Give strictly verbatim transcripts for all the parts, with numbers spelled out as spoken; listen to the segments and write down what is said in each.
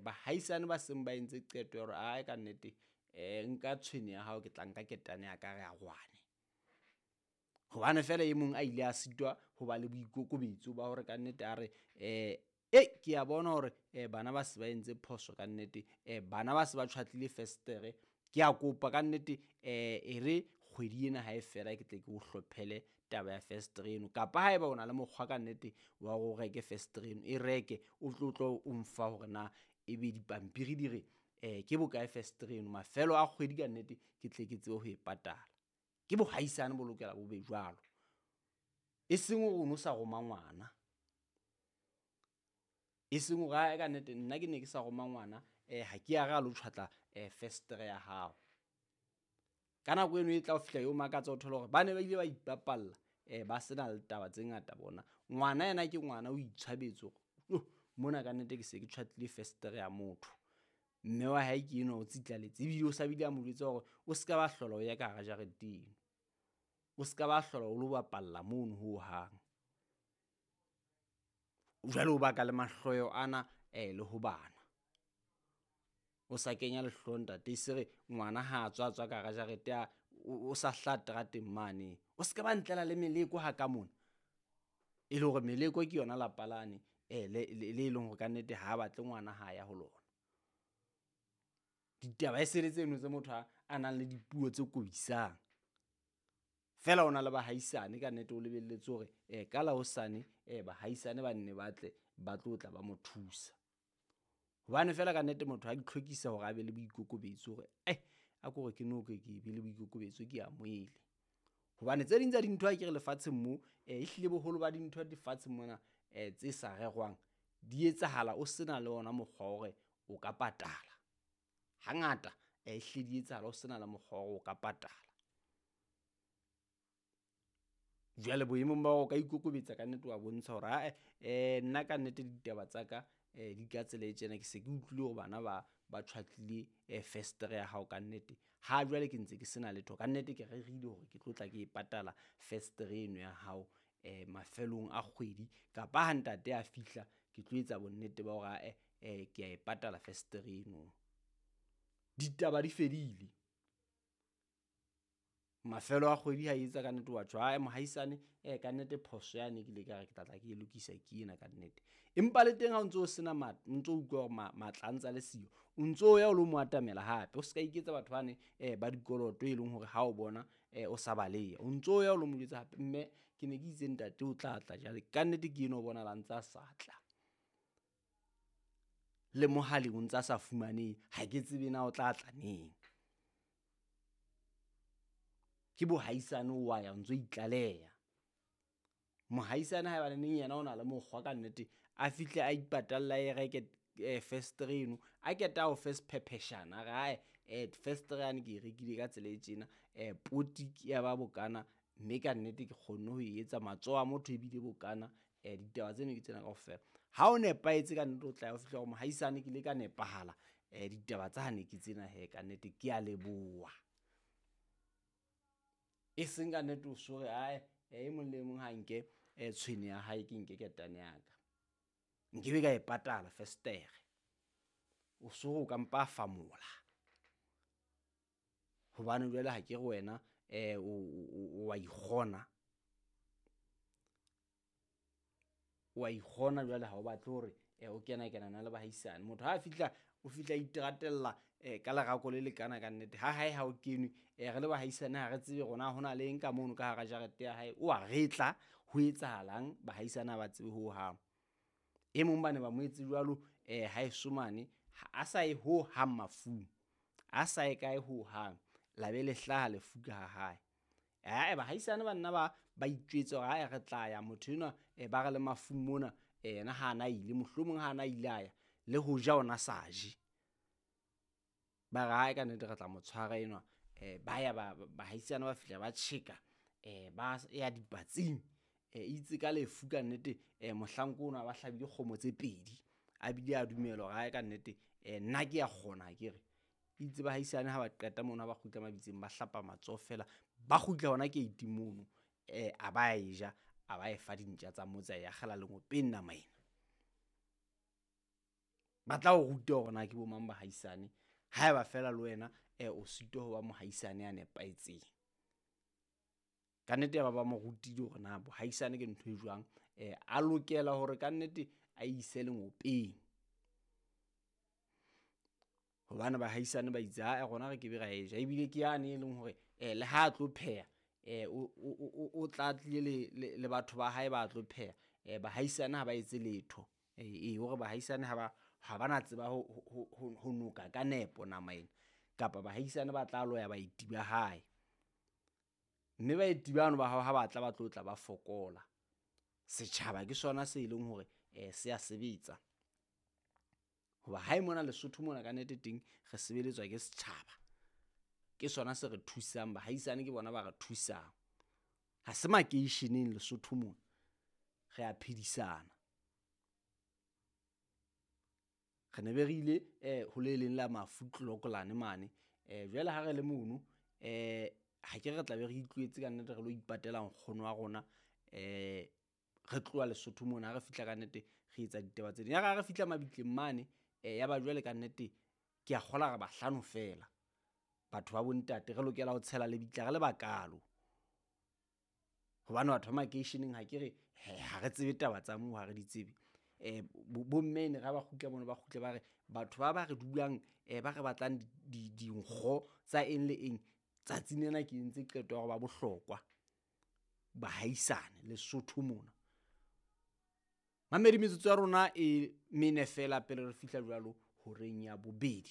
Bahaisane ba seng ba entse qeto ya hore ae ka nnete um nka tshwene ya hao, ke tla nka ketane ya ka re arohane. Hobane feela e mong a ile a sitwa ho ba le boikokobetso ba hore kannete a re um ei ke a bona hore um bana ba se ba entse phoso kannete, um bana ba se ba tjhwatlile festere. Ke a kopa kannete um e re kgwedi ena ha e fela ke tle ke o hlophele taba ya festere eno, kapa haeba o na le mokgwa kannete wa hore o reke festere eno, e reke o tlo tlo o mfa hore na ebe dipampiri di re um ke bokae festere eno. Mafelo a kgwedi kannete ke tle ke tsebe ho e patala. Ke bohaisane bo lokela bo be jwalo, e seng hore o no sa roma ngwana, e seng hore ae ka nnete nna ke ne ke sa roma ngwana um ha ke a re a lo tjhwatla um festere ya hao. Ka nako eno e tla o fihla eo makatsa o thole hore ba ne ba ile ba ipapalla um ba sena le taba tse ngata bona. Ngwana yena ke ngwana o itshwabetse hore yoh mona kannete ke se ke tjhwatlile festere ya motho. Mme wa hae ke enwa o tsitlaletse ebile o sa bile a mo jwetsa hore o ska ba hlola o ya ka hara jarete eno, o ska ba hlola o lo bapalla mono hohang. Jwale o baka le mahloyo ana um le ho bana. O sa kenya lehloyo ntate, e se re ngwana ha a tswa a tswa ka hara jarete a o sa hlaha terateng mane. O ska ba ntlela le meleko ha ka mona, e le hore meleko ke yona lapa lane um le le leng hore kannete ha batle ngwana ha ya ho lona. Ditaba e se le tseno tse motho a a nang le dipuo tse kobisang. Feela o na le bahaisane kannete, o lebelletse hore um ka la hosane um bahaisane ba nne ba tle ba tlo tla ba mo thusa. Hobane feela kannete motho a itlhokisa hore a be le boikokobetso hore eh a ko re ke no ke ke be le boikokobetso ke amohele. Hobane tse ding tsa dintho akere lefatsheng mo ehlile boholo ba dintho lefatsheng mona um tse sa rerwang di etsahala o sena le ona mokgwa wa hore o ka patala. Hangata ehlile di etsahala o sena le mokgwa wa hore o ka patala. Jwale boemong ba hore o ka ikokobetsa kannete wa bontsha hore ae um nna kannete ditaba tsa ka um di ka tsela e tjena, ke se ke utlwile hore bana ba ba tjhwatlile um festere ya hao kannete. Ha jwale ke ntse ke sena letho kannete, ke rerile hore ke tlo tla ke e patala festere eno ya hao um mafelong a kgwedi, kapa ha ntate a fihla ke tlo etsa bonnete ba hore ae um ke a e patala festere eno. Ditaba di fedile. Mafelo a kgwedi ha etsa kannete wa tjho ae mohaisane um kannete phoso yane ke ile ka re ke tla tla ke e lokisa ke ena kannete. Empa le teng ha o ntso o sena o ntso utlwa hore matla a ntsa le siyo, o ntso ya o lo mo atamela hape. O ska iketsa batho bane um ba dikoloto e leng hore ha o bona um o sa baleha, o ntso ya o lo mo jwetsa hape, mme ke ne ke itse ntate o tla tla jwale kannete ke enwa o bonahala a ntsa sa tla. Le mohaleng o ntsa sa fumanehe, ha ke tsebe na o tla tla neng. Ke bohaisane o wa ya o ntso itlaleha. Mohaisane haebane neng yena o na le mokgwa kannete, a fihle a ipatalla a e reke um festere eno, a keta a o fe sephepheshana a re ae um festere yane ke e rekile ka tsela e tjena, um poti ke ya ba bokana mme kannete ke kgonne ho e etsa, matsoho a motho ebile bokana, um ditaba tseno ke tsena kaofela. Ha o nepahetse kannete o tla ya o fihla hore mohaisane ke ile ka nepahala, um ditaba tsane ke tsena hee kannete ke a leboha. E seng kannete o so re ae e mong le mong ha nke um tshwene ya hae ke nke ketane ya ka, nkebe ka e patala festere. O so re o ka mpa famola hobane jwale ha ke re wena um o wa ikgona, o wa ikgona jwale ha o batle hore o kena kenana le bahaisane. Motho ha a fihla o fihla a iteratella um ka lerako le lekana kannete, ha hae ha o kenwe um re le bahaisane ha re tsebe hore na hona le eng ka mono ka hara jarete ya hae, o a retla ho etsahalang, bahaisane ha ba tsebe hohang. E mong ba ne ba mo etse jwalo um haeso mane, a sa ye hohang mafung, a sa ye kae hohang, la be le hlaha lefu ka ha hae. Ae bahaisane ba nna ba ba itjwetsa hore ae re tla ya motho enwa um ba re le mafung mona, yena ha na ile, mohlomong ha na ile a ya le ho ja ona sa je. Ba re ae kannete re tla mo tshwara enwa, um ba ya bahaisane ba fihla ba tjheka um ba ya dipatsing. Um itse ka lefu kannete um mohlanka ono a ba hlabile kgomo tse pedi, a bile a dumela hore ae kannete um nna ke a kgona akere. Itse bahaisane ha ba qeta mono ha ba kgutla mabitseng ba hlapa matsoho feela, ba kgutla hona gate mono um a ba e ja, a ba e fa dintja tsa motse, a e akgela lengopeng nama ena. Ba tla o ruta hore na ke bo mang bahaisane haeba feela le wena o sitwa ho ba mohaisane ya nepahetseng. Kannete ya ba ba mo rutile hore na bohaisane ke ntho e jwang, a lokela hore kannete a ise lengopeng. Hobane bahaisane ba itse ae rona re kebe ra e ja, ebile ke yane e leng hore le ha a tlo pheha o tla tlile le batho ba hae ba tlo pheha. Bahaisane ha ba etse letho, ee hore bahaisane ha ba ha ba na tseba ho noka ka nepo nama ena, kapa bahaisane ba tla loya baeti ba hae. Mme baeti bano ba hao ha ba tla ba tlo tla ba fokola. Setjhaba ke sona se leng hore se ya sebetsa, hoba hae mona Lesotho mona kannete teng re sebeletswa ke setjhaba. Ke sona se re thusang, bahaisane ke bona ba re thusang. Ha se makeisheneng Lesotho mona, re a phedisana. Re ne be re ile ho le leng la mafu Clocolan mane jwale ha re le mono ha ke re tla be re itlohetse kannete re lo ipatela nkgono wa rona re tloha Lesotho mona. Ha re fihla kannete re etsa ditaba tse ding. Ya re ha re fihla mabitleng mane ya ba jwale kannete ke a kgolwa re bahlano feela batho ba bo ntate, re lokela ho tshela lebitla re le bakalo. Hobane batho ba makeisheneng akere ha re tsebe taba tsa moo ha re di tsebe. Bo mme ene re ha ba kgutla mono, ba kgutle ba re batho ba ba re dulang ba re batlang dinkgo tsa eng le eng tsatsing lena ke entse qeto ya hore ba bohlokwa bahaisane Lesotho mona. Mamedi metsotso ya rona e mene feela pele re fihla jwalo horeng ya bobedi,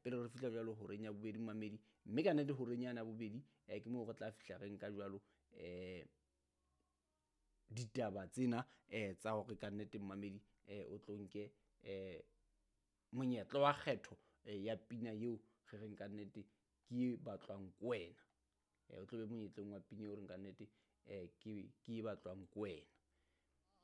pele re fihla jwalo horeng ya bobedi momamedi, mme kannete horeng yane ya bobedi ke moo re tla fihla re nka jwalo ditaba tsena tsa hore kannete momamedi o tlo nke monyetla wa kgetho ya pina eo re reng kannete ke e batlwang ke wena. O tlo be monyetleng wa pina eo re reng kannete ke e batlwang ke wena.